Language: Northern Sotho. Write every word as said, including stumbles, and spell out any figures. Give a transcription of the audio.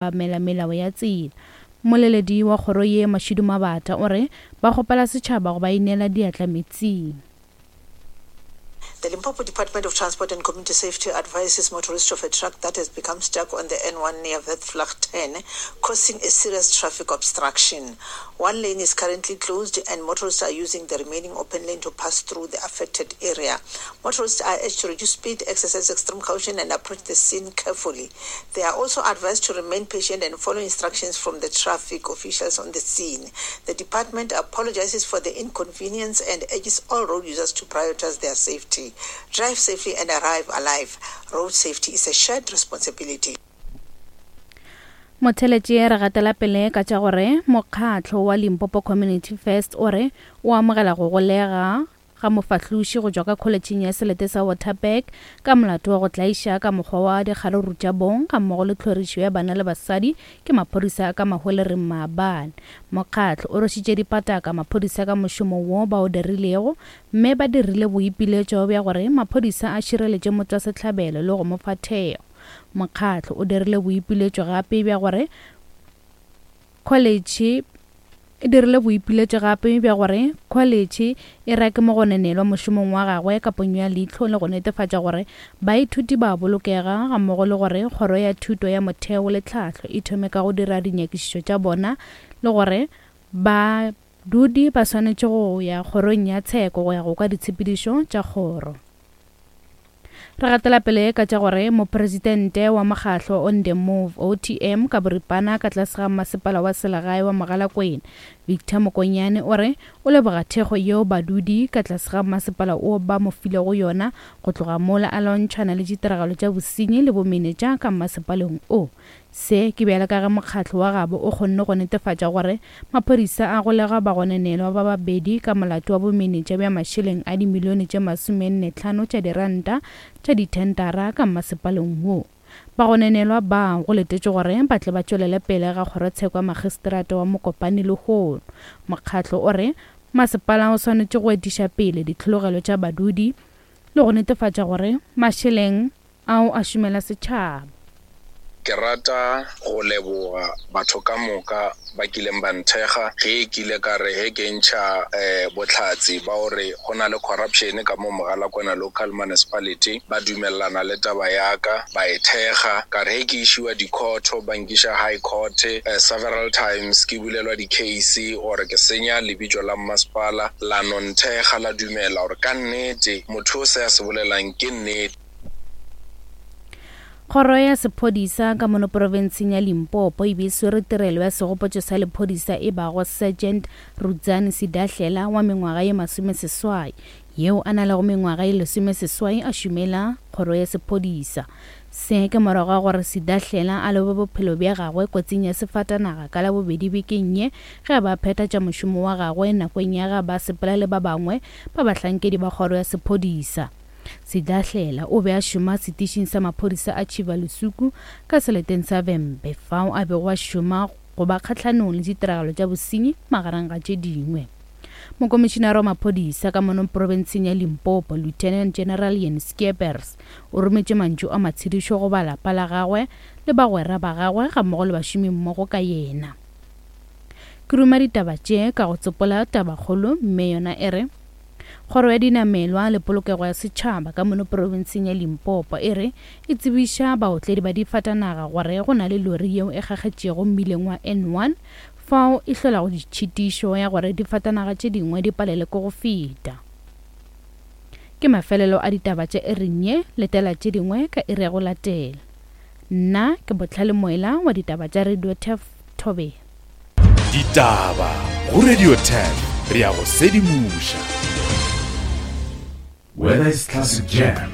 Obamela melao ya tsela. Mmoleledi wa kgoro ye Mashudu Mabata o re ba kgopela setšhaba go ba inela diatla meetseng. The Limpopo Department of Transport and Community Safety advises motorists of a truck that has become stuck on the N one near Witvlagten, causing a serious traffic obstruction. One lane is currently closed and motorists are using the remaining open lane to pass through the affected area. Motorists are urged to reduce speed, exercise extreme caution and approach the scene carefully. They are also advised to remain patient and follow instructions from the traffic officials on the scene. The department apologizes for the inconvenience and urges all road users to prioritize their safety. Drive safely and arrive alive. Road safety is a shared responsibility. Motheletše re gatela pele ka tša gore mokgatlo wa Limpopo Community First o re o amogela go golega ga mofahloši go tšwa ka kholetšheng ya selete sa Waterberg ka molato wa go tlaiša ka mokgwa wa dikgaruru tša bong ga mmogo le tlhorišo ya bana le basadi ke maphodisa a ka Mahwelereng maabane. Mokgatlo o rwešitše dipataka maphodisa ka mošomo wo ba o dirilego mme ba dirile boipiletšo bja gore maphodisa a šireletše motšwasehlabelo le go mo fa thekgo. Mokgatlo o dirile boipiletšo gape bja gore kholetšhe e dirile boipiletšo gape bja gore kholetšhe e rake mogononelwa mošomong wa gagwe ka ponyo ya leihlo le go netefatša gore baithuti ba bolokega ga mmogo le gore kgoro ya thuto ya motheo le tlhahlo e thome ka go dira dinyakišišo tša bona le gore badudi ba swanetše go ya kgorong ya tsheko go ya go kwa ditshepedišo tša kgoro. Re gatela pele ka tša gore mopresidente wa mokgatlo On The Move O T M ka boripana ka tlase ga masepala wa selegae wa Mogalakwena Victor Mokonyane o re o leboga thekgo yeo badudi ka tlase ga masepala o ba mo filego yona go tloga mola a lwantšhana le ditiragalo tša bosenyi le bomenetša ka masepaleng o. Se ke bjale ka ge mokgatlo wa gabo o kgonne go netefatša gore maphodisa a golega bagononelwa ba babedi ka molato wa bomenetša bja mašeleng a dimilione tše masomenne hlano tša diranta tša dithentara ka masepaleng wo. Bagononelwa ba go letetše gore ba tle ba tšwelele pele ga kgorotsheko ya magistrata wa Mokopane lehono. Mokgatlo o re masepala o swanetše go etiša pele ditlhologelo tša badudi le go netefatša gore mašeleng ao a šomela setšhaba. Ke rata go leboga batho ka moka ba kileng ba nthekga ge ke ile ka re ge ke ntšha eh, bohlatse ba gore go na le corruption ka mo Mogalakwena local municipality, ba dumellana le taba ya ka, ba e thekga. Ka re ge ke išiwa di-court, ba nkiša high court eh, several times, ke bulelwa di-case gore ke senya lebitso la mmasepala, la no nthekga la dumela gore ka nnete motho o se a se bolelang ke nnete. Kgoro ya sephodisa ka mono profenseng ya Limpopo e be e swere tirelo ya segopotšo sa lephodisa e bago Sergeant Rudzani Sidahlela wa mengwaga ye masomeseswai yeo a na lego mengwaga ye lesomeseswai a šomela kgoro ya sephodisa. Se ke morago ga gore Sidahlela a lobe bophelo bja gagwe kotsing ya sefatanaga ka Labobedi bekeng ye ge a ba phetha tša mošomo wa gagwe nakong ya ga ba sepela le ba bangwe ba bahlankedi ba kgoro ya sephodisa. Sidahlela o be a šoma setišing sa maphodisa a Tšhibalusuku ka seleteng sa Vhembe fao a bego a šoma go ba kgahlanong le ditiragalo tša bosenyi magareng ga tše dingwe. Mokomišinara wa maphodisa ka mono profenseng ya Limpopo Lieutenant General Ian Skeepers o rometše mantšu a matshedišo go ba lapa la gagwe le bagwera ba gagwe ga mmogo le bašomi mmogo ka yena. Ke ruma ditaba tše ka go tsopola tabakgolo mme yona e re Kgoro ya dinamelwa le polokego ya setšhaba ka mono profenseng ya Limpopo e re e tsebiša baotledi ba difatanaga gore go na le lori yeo e kgakgetšego mmileng wa N one fao e hlolago ditšhitišo ya gore difatanaga tše dingwe di palele ke go feta. Ke mafelelo a ditaba tša iring ye, letela tše dingwe ka iri ya go latela. Nna ke Botlhale Moela wa ditaba tša Radio Turf Thobela. Ditaba go Radio Turf, re ya go sedimoša. Whether it's classic jam